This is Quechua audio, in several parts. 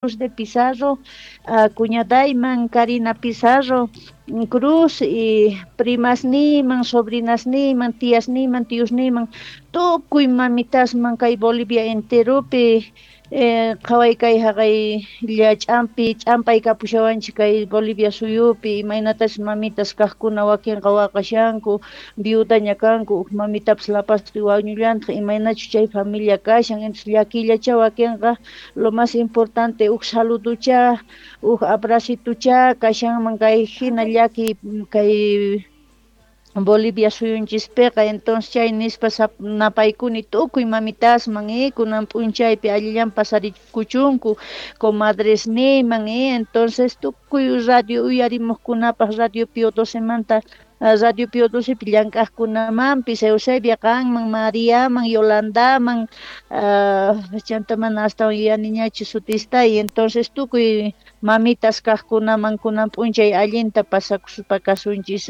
Cruz de Pizarro, cuñadayman Karina Pizarro Cruz y primasniyman, sobrinasniyman, tiasniyman, tiosniyman, tukuy mamitasman kay Bolivia enteropi. Qhaway kay haqay ch'ampi ch'ampay kapushawanchik kay Bolivia suyupi, imaynatas mamitas kaqkuna wakinqa waqashanku, viudaña kanku, huk mamitapas lapaspi wañullantaq, imaynachu chay familia kashan, entonces llakillacha wakinqa. Lo más importante huk saluducha, huk abracitucha kashanman kay hina llaki kay Bolivia suyunchispiqa. Entonces chay nispa napaykuni tukuy mamitasman, kunan p'unchaypi allillan pasarikuchunku, comadresniyman, entonces tukuy radio uyarimuqkunapaq, Radio Pio 12manta, Radio Pio 12pi llank'aqkunamanpis, Eusebia qanman, Mariaman, Yolandaman, chanta mana astawan yuyaniñachu sutista, y entonces tukuy mamitas kaqkunaman kunan p'unchay allinta pasakuspa kasunchis.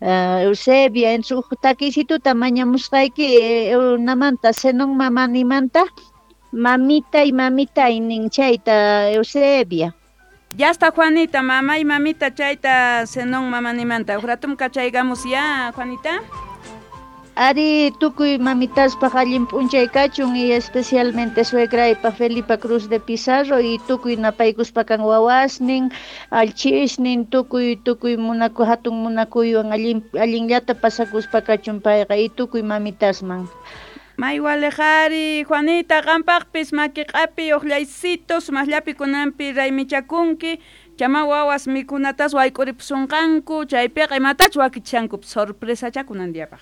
Eusebia, entonces huk takisituta mañamusqayki namanta, Zenon Mamanimanta, mamitay mamitay nin chayta, Eusebia. Ya está, Juanita, mamá y mamita chayta Zenon Mamanimanta. Huk ratum kachaygamos ya, Juanita. Ari, tukuy mamitaspaq allin p'unchay kachun y especialmente suegraypaq Felipa Cruz de Pizarro y tukuy napaykuspa kan wawasnin, allchisnin, tukuy tukuy munaku hatun munakuywan allin allinllata pasakuspa kachun payqa y tukuy mamitasman. May walejari, Juanita, qampaqpis maki q'api uqllaysitos, sumaqllapi kunanpi raymichakunki, chama wawas mikunatas wayk'uripusunqanku, chaypiqa imatachu wakichishanku sorpresacha kunan diapaq.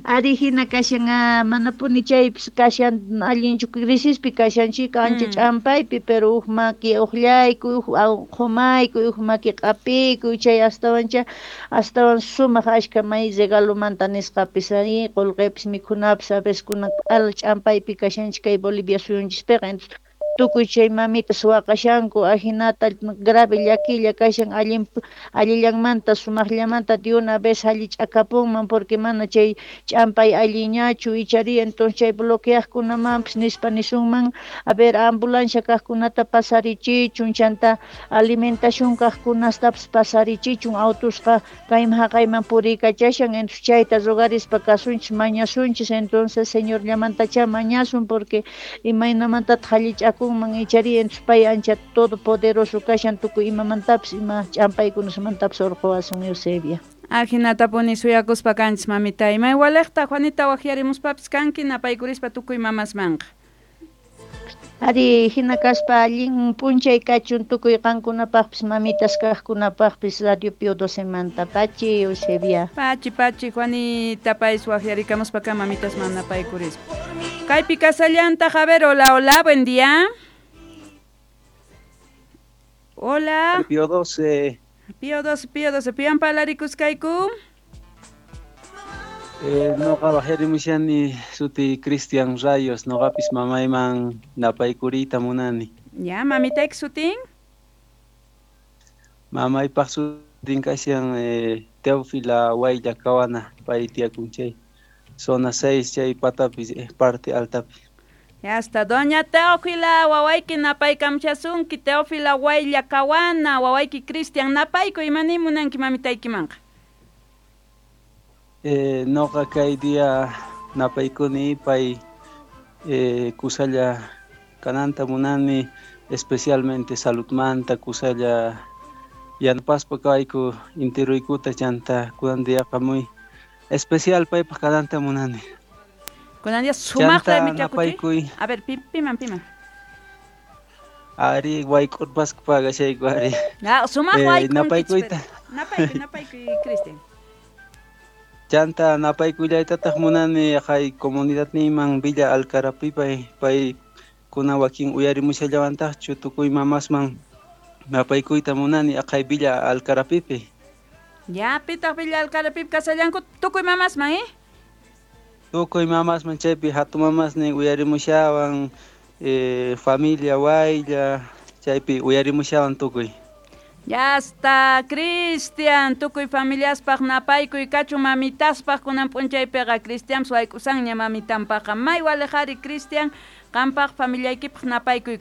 Ari, hina kashan, manapuni chaypis kashan allinchu, crisispi kashanchik, ancha ch'ampaypi, pero huk maki uqllaykuy, huk qumaykuy, huk maki q'apiykuy, chay astawancha astawan sumaq ashka may regalomanta nisqapis, ari, qullqipis mikhunapis a veces kunan q'ala ch'ampaypi kashanchik kay Bolivia suyunchispiqa. Entonces tukuy chay mamitas waqashanku, ajinata grave llakilla kashan, allin allillanmanta sumaqllamanta de una vez allich'akapunman, porque mana chay ch'ampay alliñachu ichari. Entonces chay bloqueaqkunamanpis nispa nisunman, a ver, ambulancia kaqkunata pasarichichun, chanta alimentación kaqkunastapas pasarichichun, autusqa kayman haqayman puriykachashan. Entonces chayta rogarispa kasunchis, mañasunchis, entonces Señorllamantacha mañasun, porque imaynamantataq allich'akunman ichari. Entonces pay ancha todopoderoso kashan, tukuy imamantapis, ima ch'ampaykunasmantapis urquwasun, Eusebia. Ajinatapuni suyakuspa kanchis, mamita. Imay waliqta, Juanita, waqyarimuspapis kanki napaykurispa tukuy mamasmanqa. Ari, hina kaspa allin p'unchay kachun tukuy qankunapaqpis, mamitas kaqkunapaqpis, Radio Pio 12manta. Pachi, Eusebia. Pachi, pachi, Juanita, payis waqyarikamuspa kan mamitasman napaykurispa. Kaypi kasallantaq, a ver, hola, hola, buen día. Hola. Pío 12. Pío 12, Pío 12, piwan parlarikuskayku. Noqa waqyarimushani, suti Cristian Rayos, noqapis mamayman napaykuriyta munani. Ya, mamitayki sutin? Mamaypaq sutin kashan Teófila Waylla Kawana, pay tiyakun chay zona 6 chay patapi, parte altapi. Ya está, doña Teófila, wawayki napaykamchasunki, Teófila Waylla Kawana, wawayki Cristian, napaykuy, imani munanki mamitaykimanqa? Noqa kay día napaykuni pay kusalla kananta munani, especialmente saludmanta kusalla yanapaspa kayku intiruykuta, chanta kunan diaqa muy especial paypaq kananta munani. Kunan día sumaqta Chanta raymichakuchi. napaykuy. A ver, piman, piman. Ari, wayk'urpasqa pagashayku ari. Ah, sumaq wayk'unkichis, Napaykuyta. pero napaykuy, napaykuy, Cristian. Chanta napaykuyllaytataq munani kay comunidadniyman Villa Alcarapi, pay pay kuna wakin uyarimushallawantaqchu, tukuy mamasman napaykuyta munani aqhay Villa Alcarapipi. Ya, pitaq Villa Alcarapipi kasallanku tukuy mamasman, eh? Tukuy mamasman chaypi hatun mamasnin uyarimushawan, familia Waylla chaypi uyarimushawan tukuy. Ya está, Cristian, tukuy familiaspaq napaykuy kachun, mamitaspaq kunan p'unchaypiqa Cristian wayk'usanña mamitanpaqa. May walejari, Cristian, Qampaq familiaykipaq napaykuy.